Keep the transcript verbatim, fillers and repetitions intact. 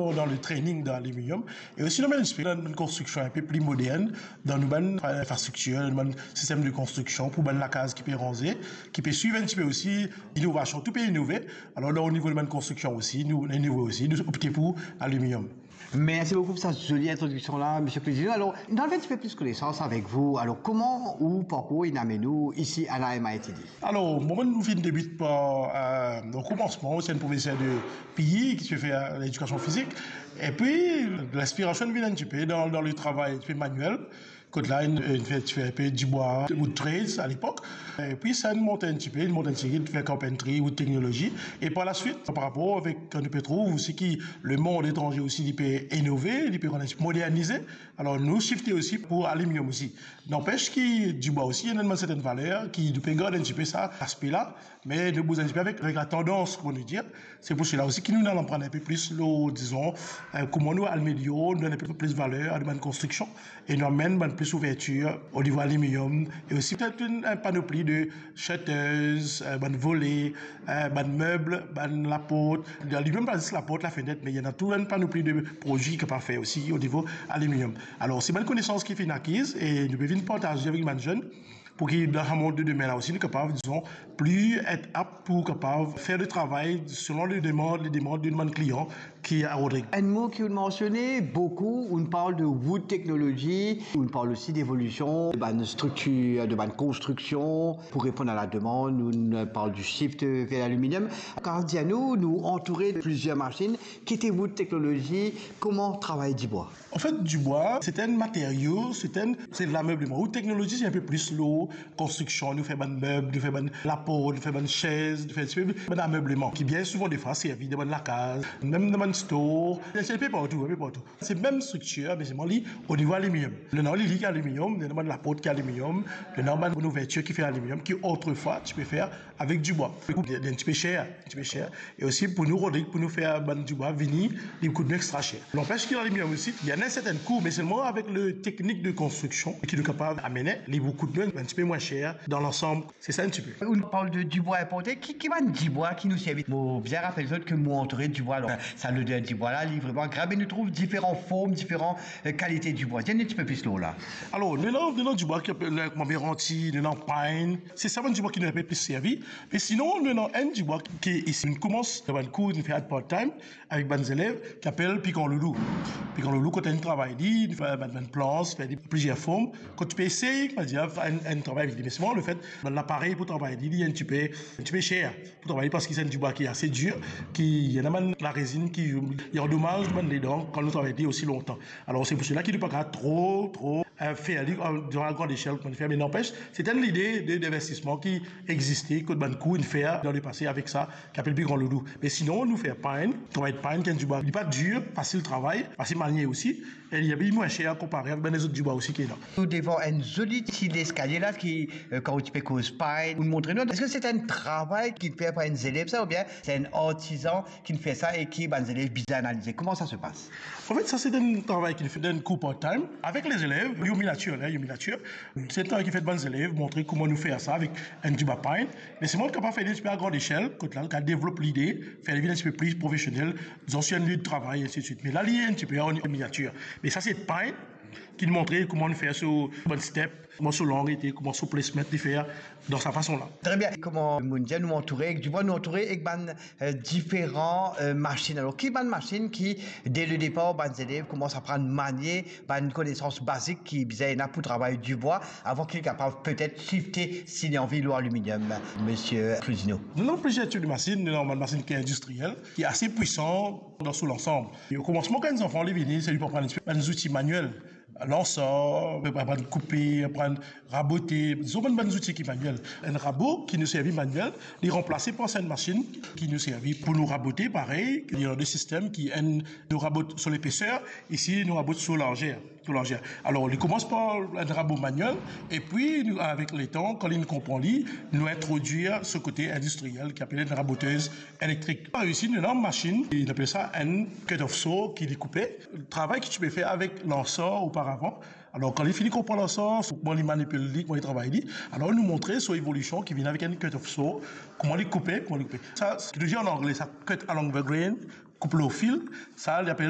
dan le training dan aliminium, e osi nou amenn enn tipe dan bann konstriksion enpe pli modern, dan nou bann infrastriktir, dan bann sistem de konstriksion pou bann lakaz ki pe ranze, ki pe swiv enn tipe osi inovasion, tou pe inove. Alor, dan o nivo de bann konstriksion osi, nou inove osi, nou opte pou aliminium. Mersi boukou pou sa zoli introdiksion la, Misie Cludineau. Alor, nou al fer enn tipe plis konesans avek ou. Alor, kouma ou parkour inn amenn ou isi a la M I T D? Alor, mwa, mo finn debit par, euh, o komansman, se enn profeser de P E ki ti pe fer ledikasion fizik. Epi, linspirasion vinn enn tipe dan, dan le travay, tipe manuel. Kot la, inn, inn fer, ti fer enpe dibwa, wood trades a lepok. Epi sa, inn mont enn tipe, inn mont enn tipe, fer carpentry, wood technology. E par laswit, par rapor avek, kan nou pe trouv osi ki lemond etranze osi, li pe inove, li pe rann enn tipe modernize. Alor, nou shifte osi pou aliminium osi. Nanpes ki dibwa osi, ena bann sertenn valer ki nou pe gard enn tipe sa, laspe la, me nou bouz enn tipe avek, avek latandans, kouma nou dir. Se pou sela osi ki nou, nou al aprann enpe plis lor, dizon, euh, kouma nou amelior, nou donn enpe plis valer a bann konstriksion, e nou amenn bann plis ouvertir o nivo aliminium, e osi petet enn, enn panopli de shutters, euh, bann vole, euh, bann meb, bann laport. Aliminium, pa zis laport, lafenet, me ena tou enn panopli de prodwi ki kapav fer osi o nivo aliminium. Alor, se bann konesans ki finn akiz e nou pe vinn partaze avek bann zenn, pou ki dan sa mond de demin la osi, nou kapav, dizon, pli et apt pou kapav fer le travay selon le demann, le demann de bann klian ki a Rodrig. Enn mo ki ou mansione boukou, ou parl de wood technology, ou parl osi devolision de bann striktir, de bann konstriksion, pou reponn a la demann, ou parl du shift vers l'aluminium. Kan dir nou, nou antoure de plizier masinn, ki ete wood technology, kouma travay dibwa? Anfet, dibwa, se enn materio, se enn, se lamebleman. Ou teknolozi, se enpe plis lor konstriksion, nou fer bann meb, nou fer bann laport, nou fer bann sez, nou fer enn tipe bann amebleman, ki bien souvan defwa servi dan bann lakaz, mem dan bann store, se enpe partou, enpe partou. Se mem striktir, me selman li o nivo aliminium. Nou ena li, li ki aliminium, nou ena bann laport ki aliminium, nou ena bann ouvertir ki fer aliminium, ki otrefwa ti pe fer avek dibwa. Li kout enn tipe ser, enn tipe ser. E osi pou nou, Rodrig, pou nou fer bann dibwa vini, li kout nou extra ser. Nanpes ki aliminium osi, li ena enn sertenn kou, me selman avek le teknik de konstriksion ki nou kapav amene, li pou kout nou enn tipe mwin ser dan lansam. Se sa enn tipe. Ou parl de dibwa inporte, ki, ki bann dibwa ki nou servi? Mo bien rapel zot ke mo antoure dibwa, alor sa loder dibwa la, li vreman agrab, e nou trouv diferan form, diferan, euh, kalite dibwa. Dir nou enn tipe plis lor la. Alor, nou ena, nou ena dibwa ki apel, euh, kouma meranti, nou ena pine. Se sa bann dibwa ki nou pe plis servi. Me sinon, nou ena enn dibwa ki, ki isi, nou koumans dan bann kour, nou fer part-time avek bann zelev, ki apel pikan loulou. Pikan loulou, kot inn travay li, nou fer bann, bann plans, fer li plizier form. Kot ti pe esey, kouma dir, fer enn, enn travay avek li. Me selman lefet, bann laparey pou travay li, li enn tipe, enn tipe ser pou travay li, parski se enn dibwa ki ase dir, ki ena bann larezinn ki, ki andomaz bann ledan kan nou travay li osi lontan. Alor, se pou sela ki nou pa kapav tro, tro, euh, fer li, euh, dan lagrand echel, kouma nou fer, me nanpes, se enn lide de, dinvestisman ki existe, kot bann kour inn fer dan lepase avek sa, ki apel pikan loulou. Me sinon, nou fer pine, travay pine, ki enn dibwa, li pa dir, fasil travay, fasil manie osi, e li, li mwin ser konpare avek bann lezot dibwa osi ki ena. Nou devan enn zoli ti leskalie la ki, euh, kan ou ti pe koz pine, ou montre nou, eski se enn travay ki fer par enn zelev sa, oubien se enn artizan ki fer sa e ki bann zelev bizin analize? Kouma sa se pas? Anfet, sa se enn travay ki nou fer dan enn kour part-time avek lezelev, Yomi Nature, la, Yomi Nature. Se enn travay ki fer bann zelev, montre kouma nou fer sa avek enn dibwa pine. Me selman nou kapav fer li enn tipe a grand echel, kot la, nou kapav devlop lide, fer li vinn enn tipe pli profesionel, dizon, sir enn lie de travay, ensidswit. Me la, li enn tipe an miniatir. Me sa se pine ki montre kouma nou fer so bann step, kouma so lang ete, kouma so placement li fer dan sa fason la. Tre bien. Kouma mo dir, nou antoure ek dibwa, nou antoure ek bann, euh, diferan, euh, masinn. Alor, ki bann masinn ki, de le depar, bann zelev koumans aprann manie bann konesans bazik ki bizin ena pou travay dibwa, avan ki li kapav petet shifte, si li anvi, lor aliminium, Misie Cludineau? Nou ena plizier tip de masinn, nou ena bann masinn ki indistriel, ki ase pwisan dan so lansam. E o komansman, kan enn zanfan li vini, se li pou aprann bann zouti maniel, lansor, aprann koupe, aprann rabote, dizon bann, bann zouti ki maniel. Enn rabo ki nou servi maniel, li ranplase par sa enn masinn ki nou servi pou nou rabote, parey, li ena de sistem ki enn, nou rabot so lepeser, isi nou rabot so larzer, so larzer. Alor, li koumans par enn rabo maniel, epi nou, avek letan, kan li konpran li, nou introdwir so kote indistriel ki apel enn rabotez elektrik. Par isi, nou ena enn masinn, nou apel sa enn cut-off saw, ki li koupe. Travay ki ti pe fer avek lansor oparavan. Alor, kan li fini koup lansor, kouma li manipil li, kouma li travay li, alor nou montre so evolision ki vinn avek enn cut-off saw, kouma li koupe, kouma li koupe. Sa, seki nou dir an angle, sa cut along the grain, koup lor fil, sa li apel